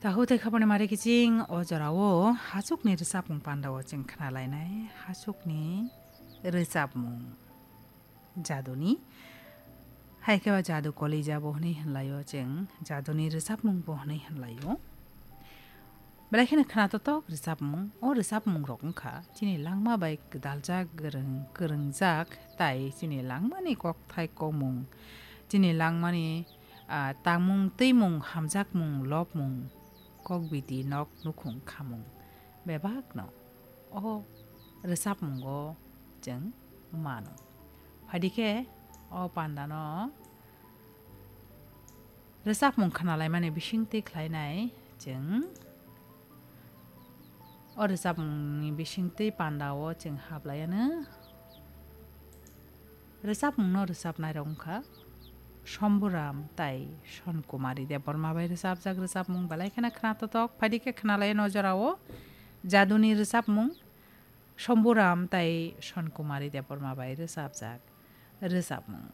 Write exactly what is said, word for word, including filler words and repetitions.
Tahu tei khapani mari kiching o jorao hachukni rwchapmung pandao chwng khnalainai, hachukni rwchapmung jaduni. Hai khe ba jadu kolija bo hwnwi hwnlaio chwng, jaduni rwchapmung bo hwnwi hwnlaio. Belai kheno khna totok rwchapmung, o rwchapmung rok wngkha chini langma bai gwdaljak, gwrwng, kwrwngjak, tai chini langmani kokthai kokmung, chini langmani, ah, tangmung, twimung, hamjakmung, lobmung, kokbiti, nok nukhung khamung bebakno o rwchapmungo chwng mano. Phaidi khe o pandano rwchapmung khnalaimani bisingtwi khlainai chwng. O rwchapmungni bisingtwi pandao chwng hablaiano. Rwchapmungno rwchapnairok wngkha Shambhuram tai Sonkumari Debbarma bai rwchapjak rwchapmung, belai kheno khna totok. Phaidi khe khnalai o jorao jaduni rwchapmung Shambhuram tai Sonkumari Debbarma bai rwchapjak rwchapmung.